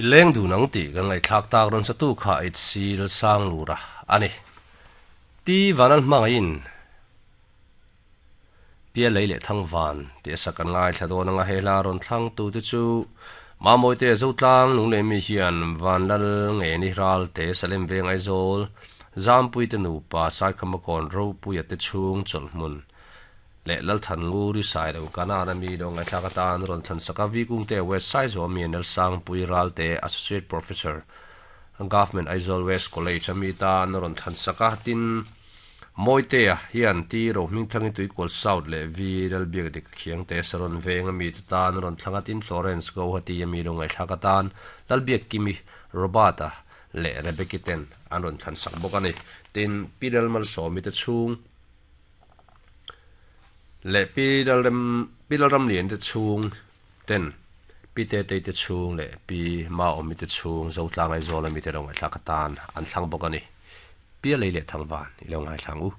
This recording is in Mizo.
I leng dun ang tih kan ngaihthlak tak rawn satu kha HC Lalsanglura a ni. Ti Vanal hmangaihin Pialei leh Thangvan tih a sak kan ngaithla dawn anga he hla rawn thlang tute chu Mamawite Zotlang Lunglemi hian Vanlal Ngeni Ralte Salem Veng Aizawl Zampuite nupa Saikhama Kawn Ropuia te chhung chawlhhmun leh Lalthan Nguri Sailo Kanan a mi lo ngaihthlak atan rawn thlan sak a, V Kungte West Saizaw mi Nelsangpui Ralte Associate Professor Government Aizawl West College a mi tan rawn thlan sak a, tin Mawitea hian T Rohmingthangi Tuikual South leh V Lalbiakdik Khiangte Saron Veng a mi te tan rawn thlang a, tin Florence Guwahati a mi lo ngaihthlak atan Lalbiakkimi Robert-a leh Rebecca ten an rawn thlan sak bawk a ni. Tin Pi Lalmalsawmi te chhung. Leh Pi Lalrem Pi Lalramlian te chhung ten Pi Tetei te chhung leh Pi Maawmi te chhung Zotlang Aizawl ami te lo ngaihthlak atan an thlang bawk a ni. Pi a lei leh thangvan i lo ngaithla ang u.